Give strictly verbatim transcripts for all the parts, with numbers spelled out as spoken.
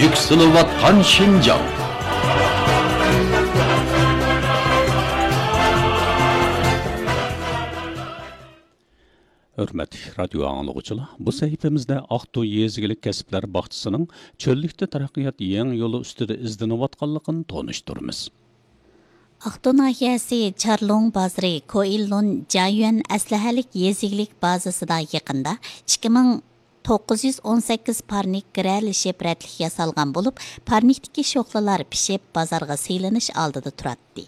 يۈكسىلىۋاتقان شىنجاڭ. ھۆرمەتلىك رادىيو ئاڭلىغۇچىلار، بۇ سەھىپىمىزدە ئاقتۇ يېزا ئىگىلىك كەسىپلەر باغچىسىنىڭ چۆللۈكتە تەرەققىيات يېڭى يولى ئۈستىدە ئىزدىنىۋاتقانلىقىنى تونۇشتۇرىمىز. ئاقتۇ ناھىيەسى چارلۇڭ بازىرى كوئىللۇن جايۈەن ئەسلىھەلىك يېزا ئىگىلىك بازىسىدا يېقىندا ئىككى مىڭ توققۇز يۈز ئون سەككىز پارنىك گىرەلىشىپ رەتلىك ياسالغان بولۇپ، پارنىكتىكى شوخلىلار پىشىپ، بازارغا سېلىنىش ئالدىدا تۇراتتى.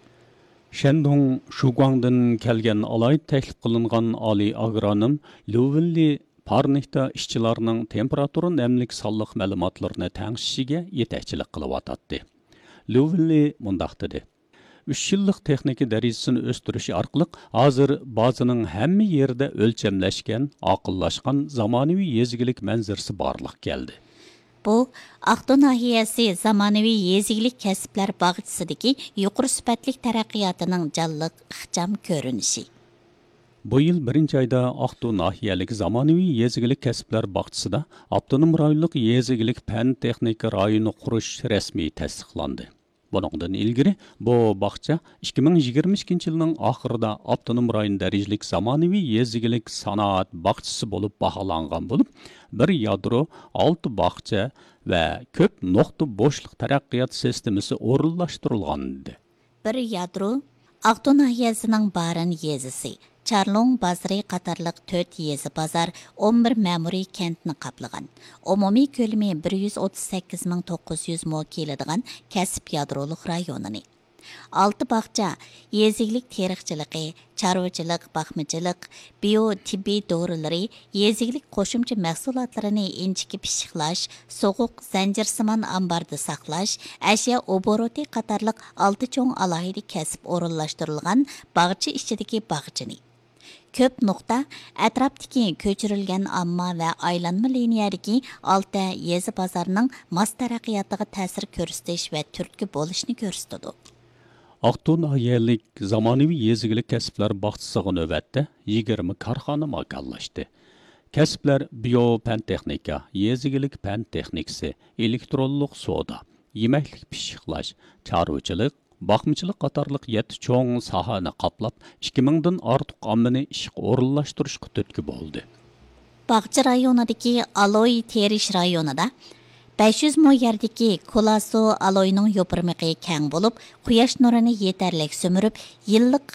شەندۇڭ شۇگۇاڭدىن كەلگەن ئالاھىدە تەكلىپ قىلىنغان ئالىي ئاگرونوم ليۇ ۋېنلى پارنىكتا ئىشچىلارنىڭ تېمپېراتۇرا نەملىك سانلىق مەلۇماتلىرىنى تەڭشىشىگە يېتەكچىلىك قىلىۋاتاتتى. ليۇ ۋېنلى مۇنداق دېدى: «ئۈچ يىللىق تېخنىكا دەرىجىسىنى ئۆستۈرۈش ئارقىلىق، ھازىر بازىنىڭ ھەممە يېرىدە ئۆلچەملەشكەن، ئاقىللاشقان زامانىۋى يېزا ئىگىلىك مەنزىرىسى بارلىققا كەلدى.» بۇ، ئاقتۇ ناھىيەسى زامانىۋى يېزا ئىگىلىك كەسىپلەر باغچىسىدىكى يۇقىرى سۈپەتلىك تەرەققىياتىنىڭ جانلىق، ئىخچام كۆرۈنۈشى. بۇ يىل بىرىنچى ئايدا ئاقتۇ ناھىيەلىك زامانىۋى يېزا ئىگىلىك كەسىپلەر باغچىسىدا ئاپتونوم رايونلۇق يېزا ئىگىلىك پەن تېخنىكا رايونى قۇرۇش رەسمىي تەستىقلاندى. بۇنىڭدىن ئىلگىرى بۇ باغچە ئىككى مىڭ يىگىرمە ئىككىنچى يىلنىڭ ئاخىرىدا ئاپتونوم رايون دەرىجىلىك زامانىۋى يېزا ئىگىلىك سانائەت باغچىسى بولۇپ باھالانغان بولۇپ، بىر يادرو، ئالتە باغچە ۋە كۆپ نۇقتا بوشلۇق تەرەققىيات سىستېمىسى ئورۇنلاشتۇرۇلغانىدى. بىر يادرو، ئاقتۇ ناھىيەسىنىڭ بارىن يېزىسى، چارلۇڭ بازىرى قاتارلىق تۆت يېزا بازار، ئون بىر مەمۇرىي كەنتنى قاپلىغان، ئومۇمىي كۆلىمى بىر يۈز ئوتتۇز سەككىز مىڭ توققۇز يۈز مو كېلىدىغان كەسىپ يادرولۇق رايونىنى. ئالتە باغچە، يېزا ئىگىلىك تېرىقچىلىقى، چارۋىچىلىق، باقمىچىلىق، بىيو تېببىي دورىلىرى، يېزا ئىگىلىك قوشۇمچە مەھسۇلاتلىرىنى ئىنچىكە پىششىقلاش، سوغۇق، زەنجىرسىمان ئامباردا ساقلاش، ئەشيا ئوبوروتى قاتارلىق ئالتە چوڭ ئالاھىدە كەسىپ ئورۇنلاشتۇرۇلغان باغچە ئىچىدىكى باغچىنى. كۆپ نۇقتا، ئەتراپتىكى كۆچۈرۈلگەن ئامما ۋە ئايلانما لىنىيەدىكى ئالتە يېزا بازارنىڭ ماس تەرەققىياتىغا تەسىر كۆرسىتىش ۋە تۈرتكە بولۇشنى كۆرسىتىدۇ. ئاقتۇ ناھىيەلىك زامانىۋى يېزا ئىگىلىك كەسىپلەر باغچىسىغا نۆۋەتتە يىگىرمە كارخانا ماكانلاشتى. كەسىپلەر بىيو پەن تېخنىكا، يېزا ئىگىلىك پەن تېخنىكىسى، ئېلېكترونلۇق سودا، يېمەكلىك پىششىقلاش، چارۋىچىلىق، باقمىچىلىق قاتارلىق يەتتە چوڭ ساھەنى قاپلاپ، ئىككى مىڭدىن ئارتۇق ئاممىنى ئىشقا ئورۇنلاشتۇرۇشقا تۈرتكە بولدى. باغچە رايونىدىكى ئالوي تېرىش رايونىدا بەش يۈز مو يەردىكى كولاسو ئالوينىڭ يوپۇرمىقى كەڭ بولۇپ، قۇياش نۇرىنى يېتەرلىك سۈمۈرۈپ، يىللىق